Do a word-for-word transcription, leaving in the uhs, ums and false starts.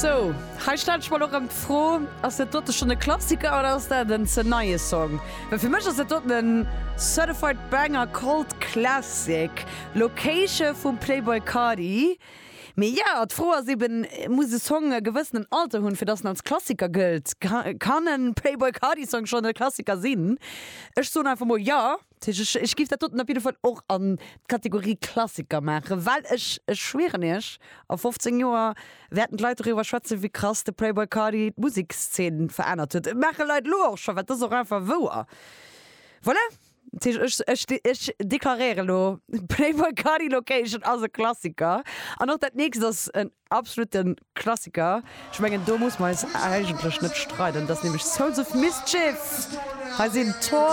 Sou, hei stellt sech mol och erëm d'Fro, ass dat dote schonn e Klassiker oder ass dat en ze neie Song? Well fir mech ass dat doten en Certified Banger Cult Classic, Location vum Playboi Carti. Mee jo, d'Fro ass eben, muss e Song e gewëssenen Alter hunn, fir dass en als Klassiker gëllt? Kann e Playboi Carti Song schonn e Klassiker sinn? Ech soen einfach mol jo. Dat heescht, ech, ech giff dat doten op jidde Fall och an d'Kategorie Klassiker maachen, well ech, ech schwieren iech, a fofzéng Joer wäerten d'Leit doriwwer schwätzen, wéi krass de Playboi Carti d'Musekszeen verännert huet. Maache Leit elo och scho, well dat ass och einfach wouer. Voilà. Dat heescht, ech, ech, ech deklaréiere lo, Playboi Carti Location ass e Klassiker. An och dat nächst ass en absolute Klassiker. Ech mengen, do muss mer eis eigentlech net streiden. Dat ass nämlech Souls of Mischief. Hei sinn Tor